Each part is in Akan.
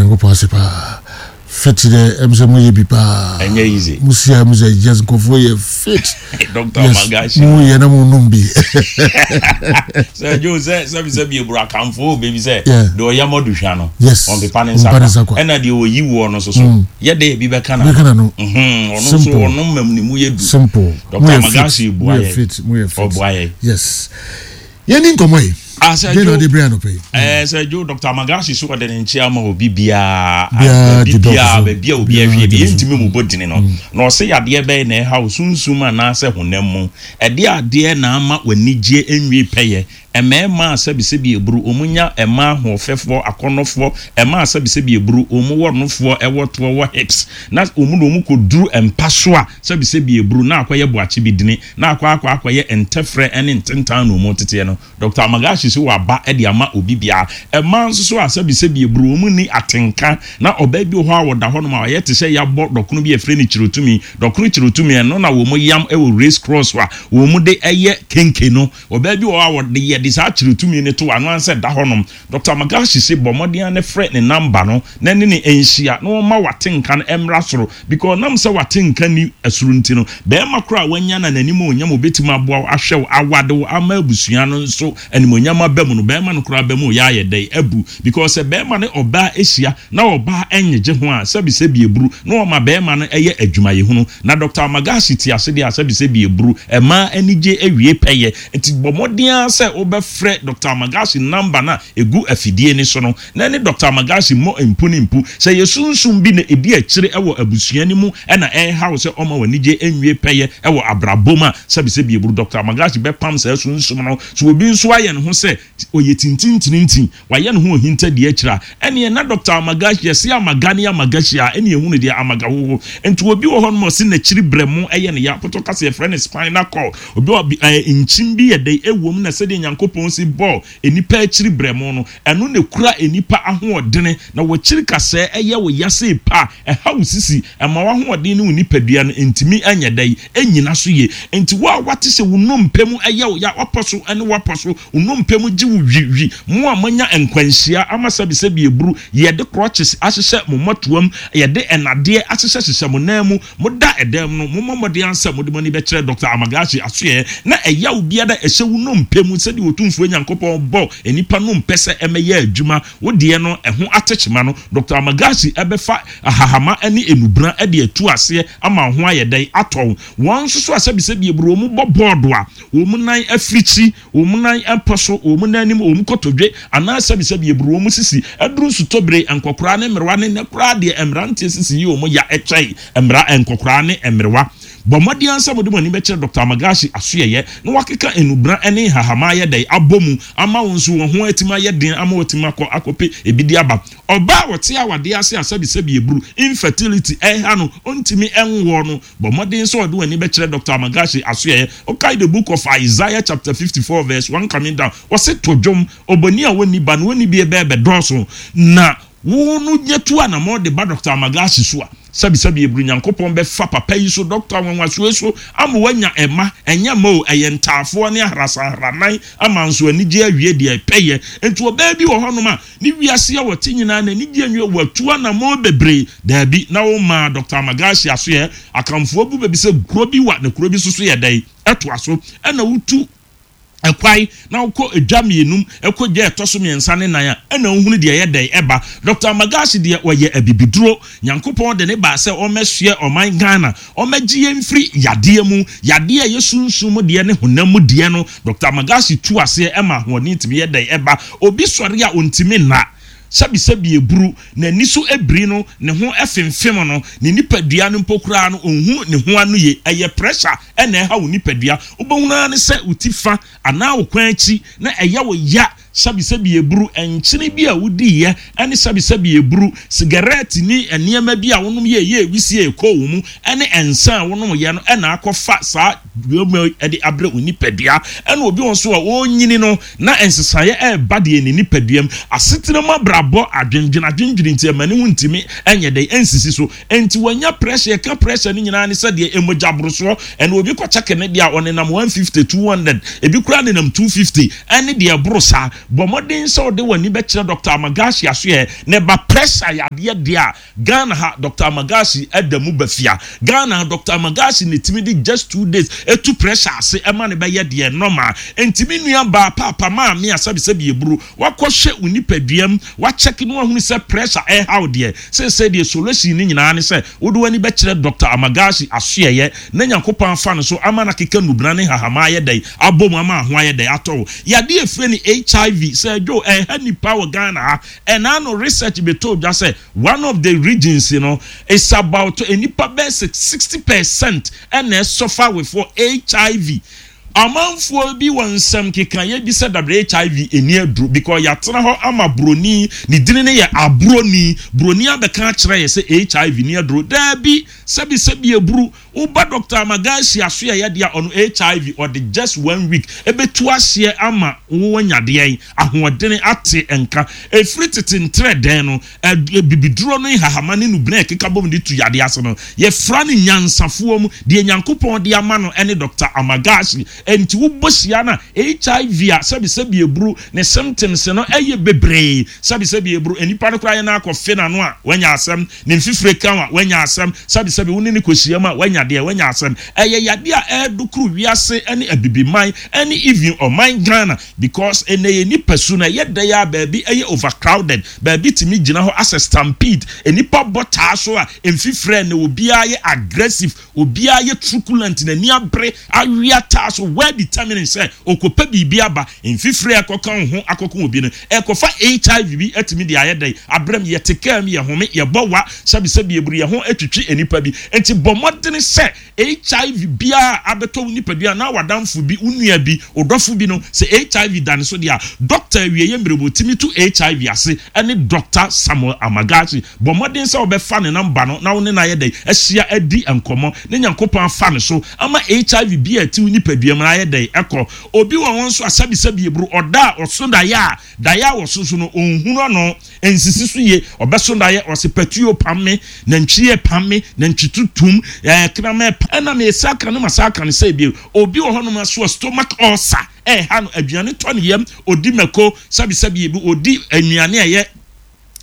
Nyankopɔn ase paa. Fit dɛ ɛm sɛ moyɛ bi paa. Ɛnyɛ easy. Mo si a mo sɛ yes nkurɔfoɔ yɛ fit. Dr. Yes, Magashi. mo yɛ na mo nom bi. Sɛ Joe sɛ sɛbi sɛbi eburu akanfo o bebi sɛ Yeah. deɛ ɔyɛ mɔdu hwa no. Yes. Ɔmpepa ne nsa Ɔmpepa ne nsa kwa. kwa. Ɛna deɛ ɔyi woɔ no nso so. Yɛ dɛ ebi bɛka na. Bɛka n'ano. Mhm, Ɔno nso Simple. ɔno mam ne mu yɛ du. Simple. Dr. Mo yɛ Magashi fit. boa Mo yɛ yɛ. fit. Mo yɛ fit. Ɔboa yɛ. Yes. Yɛn ni nkɔmɔ yi. Ah, sɛ Deɛ na Joe. ɔde bere anɔpɛ yi. Ɛɛ sɛ Joe Dr. Magashi so ɔde ne nkyɛn ama obi biara. Biara Obi gye dɔk biara so. baabi a obi Biara ahwie bi gye so. yɛntumi mu bɔ dini no. Na ɔsɛ yadeɛ bɛyɛ na ɛha wo sunsum anaasɛ honam mu. Ɛde adeɛ na ama w'anigye nwie pɛyɛ. Mmarima a sɛbisɛbi eburu wɔn nya mmaa ahoɔfɛfoɔ akɔnɔfoɔ mmaa a sɛbisɛbi eburu wɔn wɔ nofoɔ ɛwɔ toɔ wɔ hips na wɔn na wɔn kɔ duru mpa so a sɛbisɛbi eburu na akɔyɛ boakye bi dini na akɔ akɔ akɔyɛ ntɛfrɛ ɛne ntentan na wɔn teteɛ no. Dr. Magashi so waba de ama obi biara. Mmaa nso so a sɛbisɛbi eburu wɔn ni atenka na ɔbaa bi wɔ hɔ a wɔda hɔnom a ɔyɛ te sɛ yɛabɔ dɔkono bi a yɛfrɛ no kyerɛtumi. Dɔkono kyerɛtumi ɛno na wɔn yam wɔ race cross a wɔn de ɛyɛ kenke no. Ɔbaa bi wɔ hɔ a wɔde yɛde saa kyerɛtumi no to ano ansɛ da hɔnom. Dr. Magashi se bɔ mmɔden a ne frɛ ne number no na ne ne nhyia na wɔma watenka no mmra soro because nam sɛ watenka ni soro nti no bɛrima koraa a wanya na n'anim onyam obɛtumi aboa wo ahwɛ wo awade wo ama abusua no nso animonyam aba mu no bɛrima no koraa ba mu yɛ ayɛ dɛn abu because sɛ bɛrima ne ɔbaa ahyia na ɔbaa ɛnyegye ho a sɛbisɛbi eburu na ɔma bɛrima no ɛyɛ adwumayɛhunu na Dr. Magashi te ase deɛ a sɛbisɛbi eburu ɛmaa anigye awie pɛyɛ nti bɔ mmɔden ara sɛ wobɛfrɛ Dr. Magashi number no a ɛgu afidie ne so no na ne Dr. Magashi mmɔ mpu ne mpu sɛ yɛ sunsum bi na ɛdi akyire ɛwɔ abusua no mu ɛna ɛreha wo sɛ ɔma w'anigye nwie pɛyɛ ɛwɔ abrabɔ mu a sɛbisɛbi eburu Dr. Magashi bɛpam saa sunsum no so obi nso ayɛ ne ho sɛ ɔyɛ tintintirintin wayɛ ne ho ohinta deɛ akyire a ɛneɛ na Dr. Amagashi yɛse amaga ne amagashi a ɛne ɛhu no deɛ amaga hoho nti obi wɔ hɔ nom a ɔse n'akyiri brɛ mu ɛyɛ ne ya pɔtɔ kasa yɛfrɛ no spinal cord obi wɔ nkyim bi yɛ dɛ ɛwɔ mu na sɛdeɛ Nyankopɔn si bɔɔ nipa akyiri brɛ mu no ɛno na kura nipa ahoɔdene na wɔkyiri kasɛɛ ɛyɛ wo yase pa ɛha wo sisi ɛma w'ahoɔden ne wo nipadua no ntumi ɛnyɛ dɛ ɛnyina so yie nti wo a wate sɛ wo nnompe mu ɛyɛ wo ya wapɔ so ɛne wapɔ so wo nnompe mu gye wo wiwi mo a moanya nkwanhyia ama sɛbisɛbi eburu yɛde crutches ahyehyɛ mo mmɔtoam yɛde ɛnadeɛ ahyehyɛ hyehyɛ mo nan mu moda ɛdɛm no mommɔ mmɔden ansa mode mo ani bɛkyerɛ Dr. Amagashi asoɛ na ɛyɛ wo biara ɛhyɛ wo nnompe mu sɛdeɛ Otumfoɔ Nyankopɔn bɔ nnipa nnompe sɛ ɛmɛyɛ adwuma wo deɛ no ɛho atekyema no Dr. Amagashi ɛbɛfa ahahama ne enubra ɛde atu aseɛ ama ho ayɛ dɛn atɔn wɔn nso so a sɛbisɛbi eburu wɔn bɔ bɔɔdo a wɔn nan afirikyi wɔn nan ɛpɔ so wɔn nan anim wɔn kotodwe anaa sɛbisɛbi eburu wɔn sisi ɛduru nsutɔbere nkɔkoraa ne mmerewa ne ne koraa deɛ mmeranteɛ sisi yi wɔn ya ɛkyɛn mmera nkɔkoraa ne mmerewa bɔ mmɔden ansa mo de mo ani bɛkyerɛ Dr. Amagashi asoɛyɛ na wakeka enubra ne nhahama ayɛ dɛn abɔ mu ama wɔn nso wɔn ho atumi ayɛ den ama wɔatumi akɔ akɔpɛ ebi de aba ɔbaa wɔte awadeɛ ase a sɛbisɛbi eburu infertility ɛha no ɔntumi ɛnwoɔ no bɔ mmɔden sɛ ɔde wɔn ani bɛkyerɛ Dr. Amagashi asoɛyɛ ɔkae the book of Isaiah chapter 54 verse 1 coming down wɔse to dwom ɔbɔni a wɔnni ba no wɔnni bi ɛbɛɛ bɛdɔɔso na wo no nyɛ tu anamɔ de ba Dr. Amagashi so a sɛbisɛbi eburu Nyankopɔn bɛfa papa yi so Dr. Nwanwasoe so ama wanya ɛma ɛnyɛ ma o ɛyɛ ntaafoɔ ne ahrasahranan ama nso anigye awie deɛ ɛpɛyɛ nti ɔbaa bi wɔ hɔnom a ne wiase a wɔte nyinaa n'anigye anwie watu anamɔ bebree daabi na wo maa Dr. Amagashi asoɛ akamfoɔ bu baabi sɛ kuro bi wa na kuro bi soso yɛ dɛn ɛtoa so ɛna wotu ɛkwae na wokɔ edwa mmienum ɛkɔ dwa ɛtɔ so mmiɛnsa ne nan a ɛna wohunu deɛ ɛyɛ dɛn ɛba Dr. Amagashi deɛ wɔyɛ abibiduro Nyankopɔn de ne ba sɛ ɔmɛsoɛ ɔman Ghana ɔmɛgye yɛn mfiri yadeɛ mu yadeɛ a ɛyɛ sunsum mu deɛ ne honam mu deɛ no Dr. Amagashi tu aseɛ ɛma ahoɔden tumi yɛ dɛn ɛba obi sɔre a ɔntumi nna sɛbisɛbi eburu n'ani so ebiri no ne ho ɛfemfem no ne nipadua no mpo koraa no onhu ne ho ano yie ɛyɛ pressure ɛna ɛha wo nipadua wobɛhunu ara ne sɛ wo ti fa anaa wo kwan akyi na ɛyɛ wo ya sɛbisɛbi eburu nkyene bi a wodiiɛ ɛne sɛbisɛbi eburu sigaret ni nneɛma bi a wonom yɛ yɛ wisie ekɔ wo mu ɛne nsa a wonom yɛ no ɛna akɔfa saa duama ɛde abrɛ wo nipadua ɛna obi wɔn so a ɔrenyini no na nsesaeɛ ɛreba deɛ ne nipadua mu asetena mu abrabɔ adwendwen adwendwen nti ɛma ne ho ntumi ɛnyɛ dɛ ɛnsisi so nti wanya pressure ɛka pressure no nyinaa ne sɛ deɛ emogya borosoɔ ɛna obi kɔ kyɛkɛ ne deɛ a ɔnenam 150 200 ebi koraa nenam 250 ɛne deɛ ɛboro saa. Bɔ mmɔden sɛ wode w'ani bɛkyerɛ Doctor Amagasi asoɛɛ na ɛba pressure yadeɛ deɛ a, Ghana ha Doctor Amagasi da mu ba fia. Ghana ha Doctor Amagasi na ɛtumi de just 2 days ɛtu pressure ase ɛma no bɛyɛ deɛ normal. Enti me nua baa, paapa, maame a sɛbesɛbe ɛburu, wakɔhwɛ wo nipadua mu, wakyɛke na wahunu sɛ pressure ɛreha wo deɛ, seesei deɛ solution no nyinaa ne sɛ wode w'ani bɛkyerɛ Doctor Amagasi asoɛeɛ na Nyankopɔn afa no so ama no akeka nnubena ne nhahama ayɛ dɛn abɔ mu ama ho ayɛ dɛn atɔ wo. Yadeɛ a ɛfrɛ no HIV, sɛ ɛdwo, ɛha nnipa wɔ Ghana ha. Ɛna ano research bɛtɔɔ dwa sɛ one of the regions no is about nnipa bɛyɛ sɛ 60% ɛna ɛsuffer with for HIV. Amanfoɔ bi wɔ nsɛm kekaeɛ bi sɛ dabrɛ HIV ɛni aduro because yɛatena hɔ ama broni ne dini no yɛ aburoni broni abɛka akyerɛ yɛ sɛ HIV ni aduro. Daabi, sɛbi sɛbi eburu, woba Dr. Amagasi aso yɛ yɛdeɛ a, ɔno HIV ɔde just one week ɛbɛtu aseɛ ama wo anyadeɛ ahoɔdene ate nka. Ɛfiri tete ntrɛ dɛn no, bibiduro no, nhahama ne nubena ɛkeka bom de tu yadeɛ ase no, yɛfra no nyansafoɔ mu deɛ Nyankopɔn de ama no ne Dr. Amagasi. Enti wobɔ hyia no a, HIV a sɛbisɛbi eburu ne symptoms no ɛyɛ bebree. Sɛbisɛbi eburu, nnipa no koraa yɛ no akɔfe n'ano a, wanya asɛm. Ne mfifire ka a, wanya asɛm. Sɛbisɛbi wo ne ne kɔhyia mu a, wanya deɛ wanya asɛm. Ɛyɛ yadeɛ a ɛredokoro wiase ne abibiman ne even ɔman Ghana because ɛnɛ yɛ nipa su no ɛyɛ dɛ a baabi ɛyɛ overcrowded, baabi tumi gyina hɔ asɛ stampede, nnipa bɔ taa so a mfifire ne obiara yɛ aggressive, obiara yɛ truculent, n'ani abere awia taa so, well determined sɛ okɔpɛ biribi aba. Mfifire a ɛkɔka wo ho akɔka obi no ɛkɔfa HIV bi atumi de ayɛ dɛn abrɛm. Yɛte kaa mu, yɛhome, yɛbɔ wa, sɛbisɛbi eburu, yɛn ho atwitwi nnipa bi. Nti bɔ mmɔdene sɛ HIV biara abɛtɔ wo nipadua na wadamfo bi, wo nua bi, ɔdɔfo bi no, sɛ HIV da ne so deɛ a, doctor awieɛ mmerɛ tumi tu HIV ase ɛne Dr. Samuel Amagasi. Bɔ mmɔden sɛ wobɛfa ne number no na wo ne no ayɛ dɛn ahyia adi nkɔmmɔ ne Nyankopɔn afa ne so ama HIV bi a ɛte wo nipadua mu no ayɛ dɛn ɛkɔ. Obi wɔ hɔ nso a sɛbisɛbi eburu, ɔda a ɔso daeɛ a daeɛ a wɔso so no ɔnhunu ɔno nsisi so yie. Ɔbɛso daeɛ ɔse patuo pam me, nantwie pam me, nantwi tutum kraman pam. Ɛna mesa ka no ma saa ka no sɛ ebio obi wɔ hɔnom aso a stomach ulcer ɛha no, aduane tɔ ne yam, odi mako, sɛbisɛbi ebi odi nnuane a ɛyɛ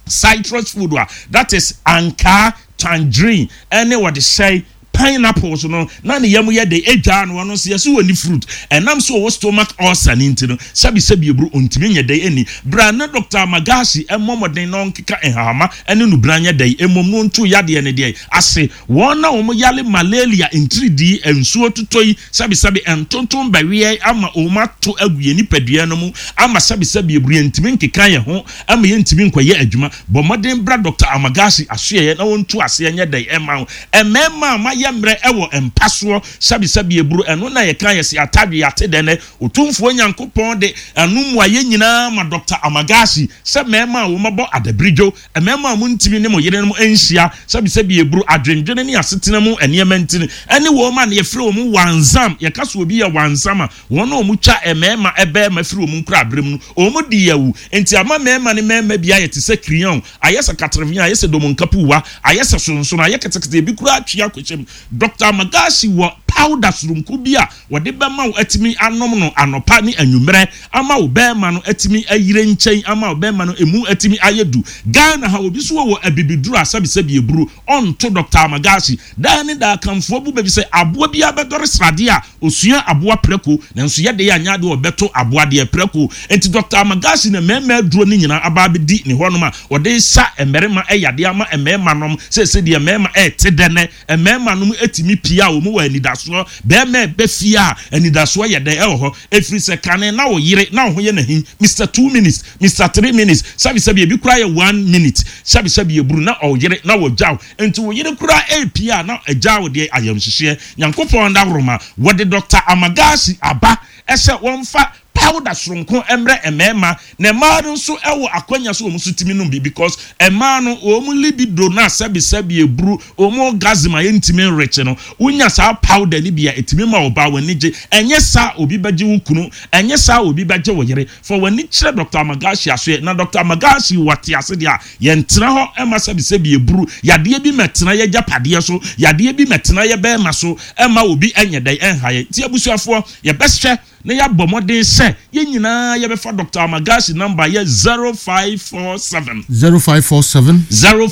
citrus food a, that is ankaa, tangerine ɛne wɔde hyɛn pineapples no, na ne yam yɛ de edwa no. Ɔno nso yɛsɛ wɔ ne fruit ɛnam so ɔwɔ stomach ulcer ne nti no, sɛbi sɛbi eburu, ontumi nyɛ dɛ ɛni bra ne Dr. Amagasi ɛmmɔ mmɔden na ɔnkeka nhahama ɛne nubena nyɛ dɛ emom no ntu yadeɛ ne deɛ ase. Wɔn na wɔn yale malaria ntiridii, nsuo totɔ yi, sɛbi sɛbi ntontom bɛweɛ ama wɔn ato agu yɛn nipadua no mu ama sɛbi sɛbi eburu yɛn ntumi nkeka yɛn ho ama yɛn ntumi nkɔyɛ adwuma. Bɔ mmɔden bra Dr. Amagasi asoɛyɛ na wɔntu aseɛ nyɛ dɛ ɛma wo. Mmarima a mayɛ mmerɛ ɛwɔ mpa soɔ, sɛbisɛbi eburu, ɛno na yɛka yɛsi atadwe yɛate dɛ nɛ Otumfoɔ Nyankopɔn de ɛno mu ayɛ nyinaa ma Dr. Amagasi sɛ mmarima a wɔmabɔ adabiridwo, mmarima a wɔntumi ne mo yerenom nhyia, sɛbisɛbi eburu, adwendwene ne asetena mu nneɛma ntini, ɛne wɔn a na yɛfrɛ wɔn wanzam. Yɛka so obi yɛ wanzam a, wɔn a wɔtwa mmarima ɛbɛrima firi wɔn nkura abere mu no, wɔn di yawu nti ama mmarima ne mmarima bi ayɛ te sɛ kiriyan, ayɛ sɛ katerevia, ayɛ sɛ domonkapuwa, ayɛ sɛ sonsono, ayɛ ketekete, ebi kura atwi akɔhyɛ mu. Dr. Amagasi wɔ powder soronko bi a wɔde bɛma wo atumi anom no anɔpa ne anwummerɛ ama wo bɛrima no atumi ayire nkyɛn, ama wo bɛrima no emu atumi ayɛ du. Ghana ha obi so wɔ abibiduro a sɛbisɛbi eburu ɔnto Dr. Amagasi daa ne daa kamfoɔ bu baabi sɛ aboa bi abɛdɔre sradeɛ a osua aboa prɛko, nanso yɛde yɛ anya adeɛ ɔbɛto aboa deɛ prɛko. Nti Dr. Amagasi na mmarima aduro ne nyinaa aba abɛdi ne hɔnom a wɔde sa mmarima ɛyadeɛ ama mmarima nom sɛ deɛ mmarima ɛɛte dɛnɛ, mmarima nom etumi pie a wɔn wɔ anidasoɔ, bɛrima ɛbɛ fie a anidasoɔ yɛ dɛ ɛwɔ hɔ, efiri sɛ kane na wo yere na wo ho yɛ n'ahin, Mr 2 minutes, Mr 3 minutes, sɛbisɛbi ebi kura yɛ one minute, sɛbisɛbi eburu na ɔyere na wɔgyaw. Nti wo yere kura epie a na ɛgyaw deɛ ayamhyehyeɛ. Nyankopɔn dawuroma wɔde Dr. Amagasi aba ɛsɛ wɔmfa powder soronko mmerɛ mmarima na mmaa no nso ɛwɔ akwanya so wɔn nso tumi nom bi because mmaa no wɔn libido na sɛbisɛbi eburu, wɔn orgasm a yɛntumi nrekye no, wonya saa powder ni bi a etumi ma ɔbaa wɔn ani gye. Ɛnyɛ saa obi bɛgye wo kunu, ɛnyɛ saa obi bɛgye wo yere. Fa wɔn ani kyerɛ Dr. Amagasi asoɛ na Dr. Amagasi wɔte ase deɛ a yɛntena hɔ ɛma sɛbisɛbi eburu yadeɛ bi mɛtena yɛ gyapadeɛ so, yadeɛ bi mɛtena yɛ bɛrima so ɛma obi ɛnyɛ dɛ ɛnha yɛ. Nti abusuafoɔ, yɛbɛhwɛ. na yɛabɔ mmɔden sɛ yɛn nyinaa yɛbɛfa Dr. Amagasi number yɛ 0547 0547 04.